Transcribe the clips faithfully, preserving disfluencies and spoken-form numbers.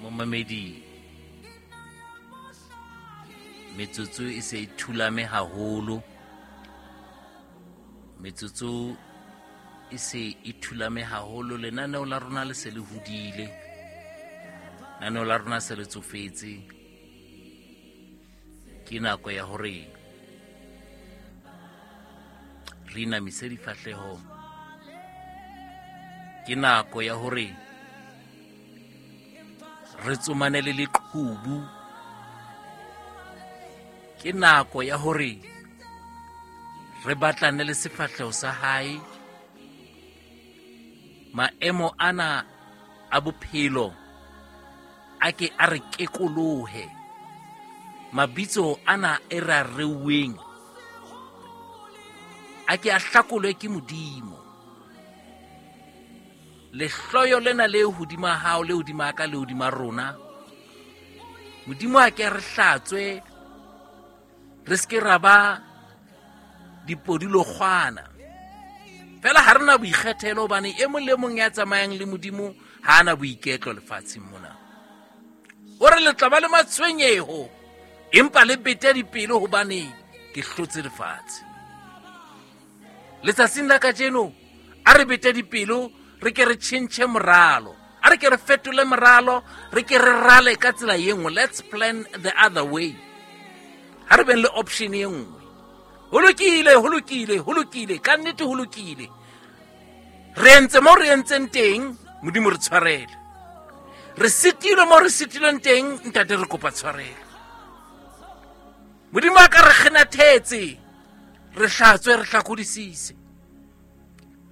Momamedi, metsotso e se e thulame haholo. Metsotso e se e thulame haholo. Lenaneo la rona le se le hodile. Lenaneo la rona se le tsofetse. Ke nako ya hore re inamise difahleho. Ke nako ya hore re tsomane le leqhubu. Ke nako ya hore re batlane le sefahleho sa hae. Maemo ana a bophelo a ke a re kekolohe. Mabitso ana e re a reuweng a ke a hlakolwe ke Modimo. Lehloyo lena le hodima hao, le hodima ka, le hodima rona, Modimo a ke a re hlatswe, re se ke ra ba dipodilokgwana. Fela ha re na boikgethelo, hobane e mong le mong ya tsamayang le Modimo ha ana boiketlo lefatsheng mona. O re le tla ba le matshwenyeho, empa le bete dipelo hobane ke hlotse lefatshe. Letsatsing la kajeno a re bete dipelo, re ke re tjhentjhe moralo, a re ke re fetole moralo, re ke re rale ka tsela e nngwe. Let's plan the other way. Ha re beng le option e nngwe. Ho lokile, ho lokile, ho lokile, ka nnete ho lokile. Re entse mo re entseng teng, Modimo re tshwarele. Re sitilwe mo re sitilweng teng, Ntate re kopa tshwarelo. Modimo a ka re kgenathetse, re hlatswe, re hlakodisise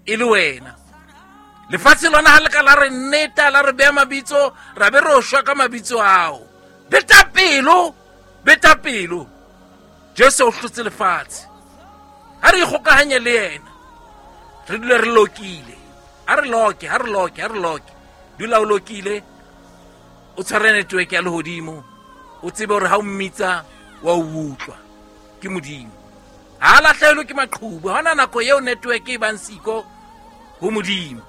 e le wena. Lefatshe lona ha le ka la re nneta, la re beha mabitso, ra be re shwa ka mabitso ao. Beta pelo, beta pelo. Jesu o hlotse lefatshe. Ha re ikgokahanye le yena, re dule re lokile. Ha re loke, ha re loke, ha re loke. Dula o lokile, o tshware network ya lehodimo, o tsebe hore ha o mmitsa wa o utlwa. Ke Modimo. Ha lahlehelwe ke maqhubu. Ha hona nako eo network e bang siko ho Modimo.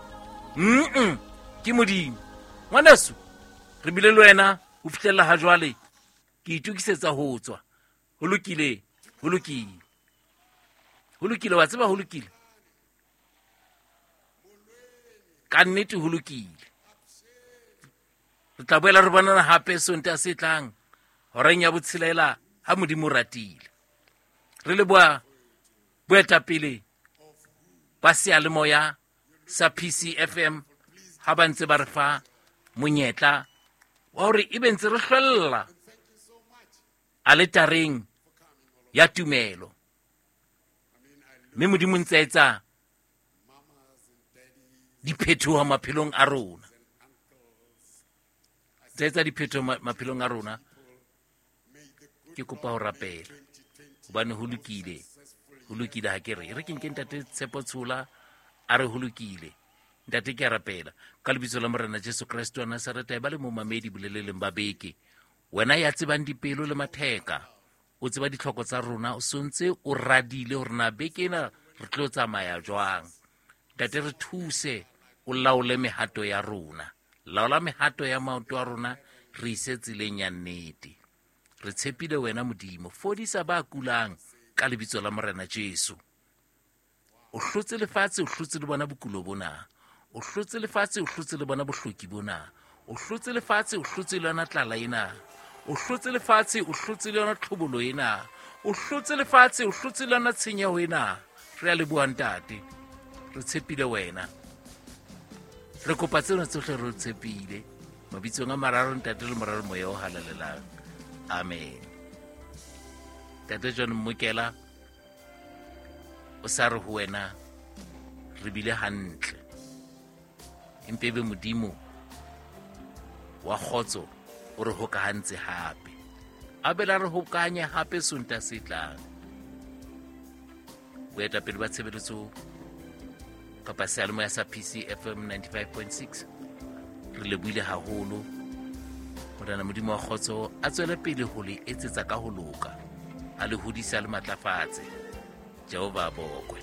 Mm-mm, ke Modimo. Ngwaneso, re bile le wena ho fihlella ha jwale. Ke itokisetsa ho tswa. Ho lokile, ho lokile. Ho lokile, wa tseba ho lokile. Ka nnete ho lokile. Re tla boela re bonana hape Sontaha se tlang horeng ya botshelela ha Modimo o ratile. Re leboha boetapele ba seyalemoya sa P C F M ha ba ntse ba re fa monyetla wa hore ebe ntse re hlwella aletareng ya tumelo. Mme Modimo ntse a etsa diphetoho maphelong a rona. Ntse a etsa diphetoho maphelong a rona. Ke kopa ho rapela hobane ho lokile, ho lokile. Ha ke re re ke nke Ntate Tshepo Tshola a re ho lokile. Ntate, ke a rapela ka lebitso la Morena Jesu Kreste wa Nazareta, e ba le momamedi boleleleng ba beke. Wena ya tsebang dipelo le matheka, o tseba ditlhoko tsa rona, o sontse o radile hore na beke ena re tlo tsamaya jwang. Ntate, re thuse, o laole mehato ya rona. Laola mehato ya maoto a rona, re ise tseleng ya nnete. Re tshepile wena Modimo. Fodisa ba kulang ka lebitso la Morena Jesu. O hlotse lefatshe, o hlotse le bona bokulo bona. O hlotse lefatshe, o hlotse le bona bohloki bona. O hlotse lefatshe, o hlotse le yona tlala ena. O hlotse lefatshe, o hlotse le yona tlhobolo ena. O hlotse lefatshe, o hlotse le yona tshenyeho ena. Re a leboha Ntate. Re tshepile wena. Re kopa tsena tsohle re tshepile. Mabitsong a mararo Ntate le Mora le Moya o Halalelang. Amen. Ntate John Mmokela o sa re ho wena re bile hantle. Empa ebe Modimo wa kgotso o re hokahantse hape. A be la re hokahanye hape Sontaha se tlang. Boetapele ba tshebeletso kapa seyalemoya sa P C F M ninety-five point six re lebohile haholo. Morena Modimo wa kgotso a tswele pele ho le etsetsa ka ho loka, a le hodise, a le matlafatse. Jehova a bokwe.